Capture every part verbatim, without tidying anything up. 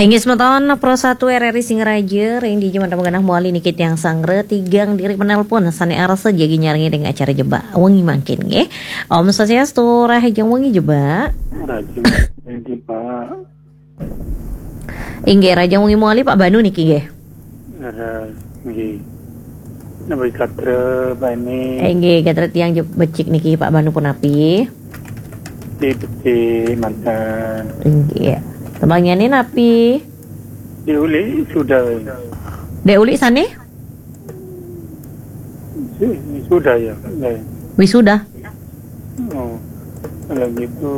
Inggih semeton Pro satu R R I Singaraja, ring dija mantap genah mawali niki tiang sanggra tigang diri penelpon sane arsa jagi nyarengin ring acara Jebak Wengi mangkin nggih. Om Swastiastu, rahajeng wengi Jebak. Rahajeng wengi, Pak. Inggih, rahajeng wengi mawali Pak Banu niki nggih. Leres, nggih. Napi gatra, Pak ini? Inggih, gatra tiang je-, becik niki Pak Banu punapi? Di becik manten. Inggih. Tembangyane napi? Di uli sudah. Dek uli sane? Si-, sudah ya. Ya. Wisuda. Oh. Kalau gitu,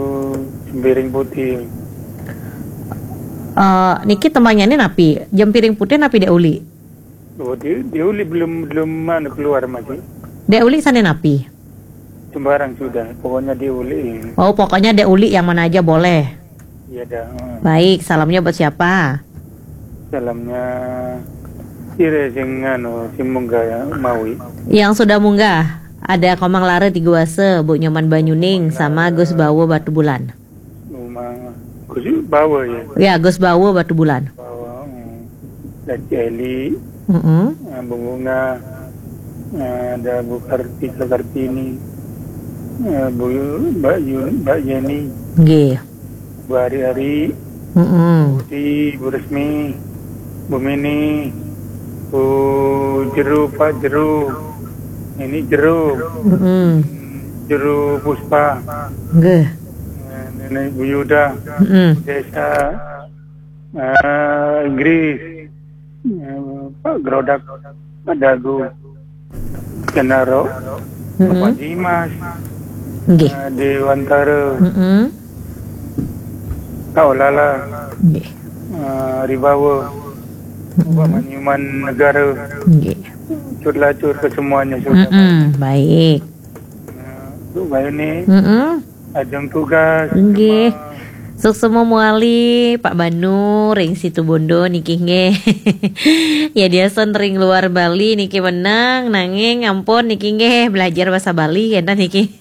jempiring putih. Eh, niki tembangyane napi? Jempiring putih napi dek uli? Oh, di, di uli belum, belum mana keluar masih. Dek uli sane napi? Sembarang sudah, pokoknya di uli. Oh, pokoknya dek uli yang mana aja boleh. Iya dah. Hmm. Baik, salamnya buat siapa? Salamnya sira sing anu, sing munggah ya, mawi. Yang sudah munggah, ada Komang Lara Tiguasa, Bu Nyoman Banyuning, sama Gus Bawa Batu Bulan. Rumah Gus Bawa ya? Ya, Gus Bawa Batu Bulan. Bawa, hmm. Dan Celi, Mm-mm. eh, Bu Bunga, eh, ada Bu Kartika Kartini, eh, Bu, Mbak Yun, Mbak Yeni, Nggih. Bu Ari-Ari, Mm-mm. Putih, Bu Resmi, Bu Mini, Bu Jeru, Pak Jeru, ini Jeru, Mm-mm. Jeru Puspa, Nggih. eh, Nenek Bu Yuda, Mm-mm. Desa, eh, Inggris, eh, Pak Grodak, Pak Dagu, Kenaro, Mm-mm. Bapak Dimas, Nggih. eh, Dewantara, Mm-mm. Kak Olala, Nggih. eh, Ribawa, Mm-mm. Bapak Manyuman Negara, Nggih. Cut Lacur ke semuanya sudah. Mm-mm. Baik. Eh, Bu Bayuni, Mm-mm. Ajeng tugas. Nggih. Suksma mawali Pak Banu ring Situbondo niki nggih. Ya, diasen ring luar Bali niki menang, nanging ampun niki nggih belajar bahasa Bali kenten niki.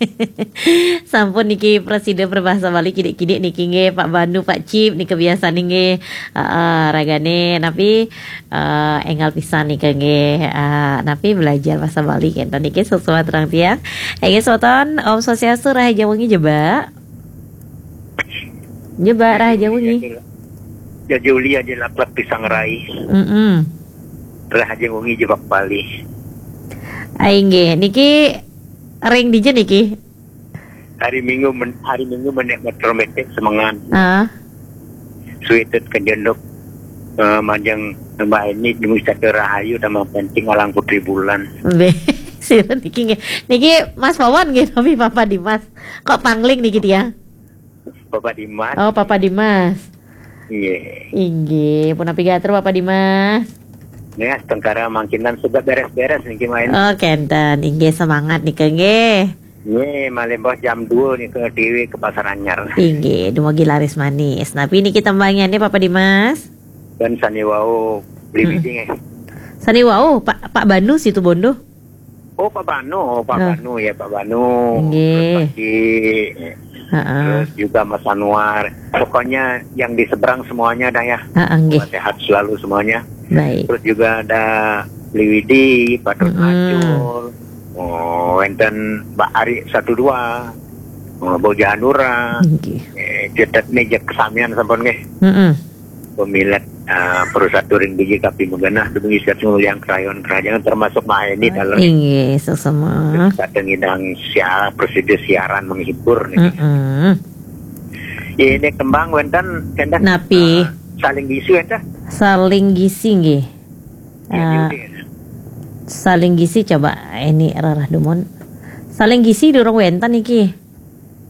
Sampun niki prasida berbahasa Bali kidik-kidik niki nggih, Pak Banu, Pak Cip niki biasa nggih. Heeh, ragane napi, eh, enggal pisan nika nggih, eh, napi belajar bahasa Bali kenten niki, suksma terang tiang. Nggih, semeton, Om Swastiastu, rahajeng wengi Jebak. Jebak, rahajeng wengi. Jadi uli aja laklak pisang rai. Mm-mm. Rahajeng wengi Jebak Bali. Ai nggih, niki ring dija niki? Hari Minggu men-, hari Minggu menek metro metek semengan. Ah. Suitet kejenduk, eh, majeng Mbak Eni demi satu rahayu tambah penting alang Putri Bulan. Be, sira niki nggih. Niki Mas Wawan nggih, tapi Papa Dimas. Kok pangling niki tiang? Papa Dimas. Oh, Papa Dimas. Nggih. Inggih, punapi gatra Papa Dimas? Nih, tengkara mangkinan sudah beres-beres niki main. Oh, kenten. Inggih, semangat nika nggih. Nggih, malih mbah jam dua nika dhewe ke Pasar Anyar. Inggih, dumugi laris manis. Napi niki tembangyane Papa Dimas? Dan sane wau beli Hmm. biji nggih. Sane wau, Pak, Pak Banu Situbondo. Oh, Pak Banu, oh, Pak Ah. Banu ya, Pak Banu. Nggih. Terus Pak Cik. Heeh. Terus juga Mas Anwar. Pokoknya yang di seberang semuanya dah ya. Heeh, nggih. Semoga sehat selalu semuanya. Baik. Terus juga ada Beli Widi, Pak Dut Mm-mm. Acul. Oh, wenten Mbak Ari satu dua. Oh, Bu Janura. Nggih. Eh, cetet nih jek kesamian sampun nggih. Mm-mm. Pemilet, eh, perusahaan touring biji kapi magenah demi siat nguliang kerayon kerajaan termasuk main di dalam. Inggih, sesama. Kadang idang siar, prosedur siaran menghibur nih. Mm-mm. Ya, ini kembang wenten, wenten. Napi? Eh, saling gisu wenten. Saling gisi nggih. Ya, Ah, diudir. Saling gisi coba ini rarah dumun. Saling gisi durung wenten niki.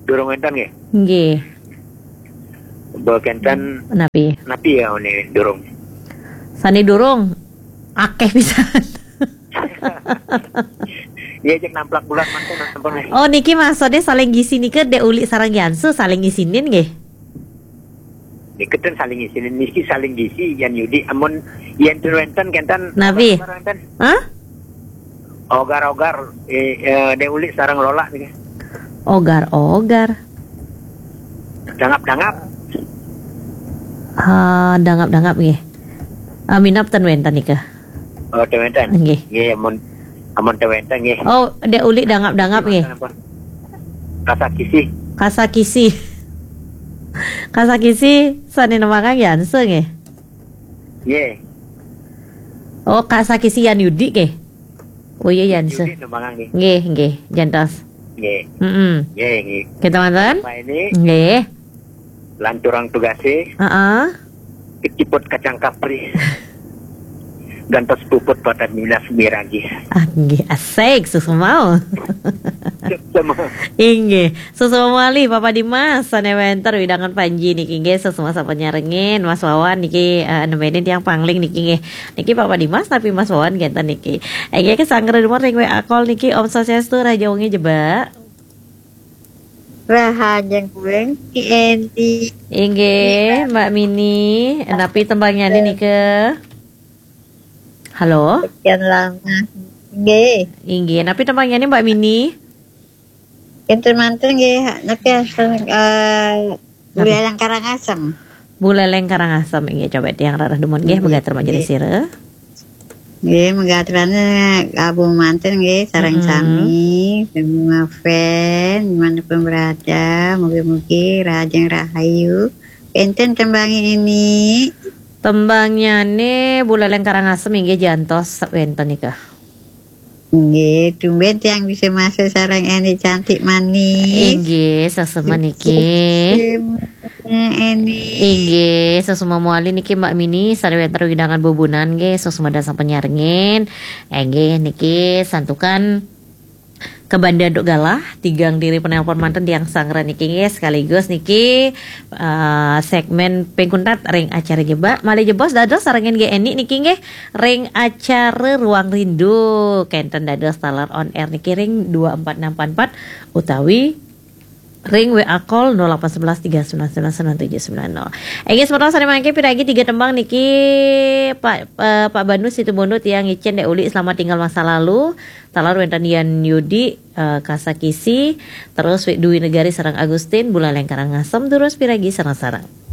Durung wenten nggih? Nggih. Bekenten. Napi? Napi ya ini durung? Sane durung akeh pisan. Iya, cek namplak bulan manten sampun nggih. Oh, niki maksudnya saling gisi nika dek uli sareng Yansu saling gisinin nggih. Niki ten saling gisinin, niki saling gisi, Yan Yudi, amun yen ten wenten kenten. Napi? Apa wenten? Hah? Ogar-ogar, eh, eh, Dek Uli sareng Lola niki. Ogar-ogar. Dangap-dangap. Ah, dangap-dangap nggih. Ah, minab ten wénten nika. Oh, ten wénten. Nggih. Nggih, amun amun ten wénten nggih. Oh, dek uli dangap-dangap nggih. Napa? Kasakisi. Kasakisi. Kasakisi sané nembangang Yanse nggih. Nggih. Oh, Kasakisi Yan Yudi nggih. Oh iya Yanse. Yudi nembangang nggih. Nggih, nggih, jantos. Nggih. Heeh. Nggih, nggih. Kita manten? Mbak ini Nggih. lanturang tugasé, Heeh. keciput kacang kapri. Gantos puput pada minas miragi. Ah, nggih, asik susu mau. Sama. Inggih, susu mawali Papa Dimas sané wénten wewidangan Panji niki nggih, susu masa penyarengin Mas Wawan niki eh, nemenin tiang pangling niki nggih. Niki Papa Dimas tapi Mas Wawan genten niki. Inggih kesanggra dumun ring W A call niki Om Swastiastu, raja wengi jebak. Rahajeng kuing Ki Edi. Inggih, Mbak Mini, napi tembangnya nika? Halo? Sekian lama. Nggih. Inggih, napi tembangnya nih Mbak Mini? Kinten manten nggih, niki eh Buleleng Karangasem. Buleleng Karangasem, inggih, coba tiang rarah dumun nggih, megater majeng ring sira. Nggih, megaterane kabung manten nggih, sareng Mm-mm. Sami, semua fan, dimanapun berada, mugi-mugi rahajeng rahayu. Enten tembangi ini. Tembangnya nih Buleleng Karangasem inggih, jantos wénten nika. Nggih, tumben tiang bisa masuk sareng Eni cantik manis. Inggih, sesama niki. Eni. Inggih, sesama mawali niki Mbak Mini, sané wénten wewidangan bubunan nggih, sesama dasang penyarengin. Inggih, niki santukan ke Banda Duk Galah, tigang diri penelpon manten tiang sanggra niki nggih, sekaligus niki eh, segmen pingkuntat ring acara jebak. Malih jebos dados sarengin nggih Eni niki nggih ring acara Ruang Rindu. Kenten dados taler on air niki ring dua empat enam empat empat utawi ring W A call nol delapan sebelas tiga sembilan sembilan sembilan tujuh sembilan nol. Inggih semeton sané mangkin piragi tiga tembang niki Pak eh, Pak Banu Situbondo tiang ngicén dek uli Selamat Tinggal Masa Lalu, taler wénten Yan Yudi eh, Kasakisi, terus Wik Dwi Negari sareng Agustin Buleleng Karangasem, durus piragi sareng-sareng.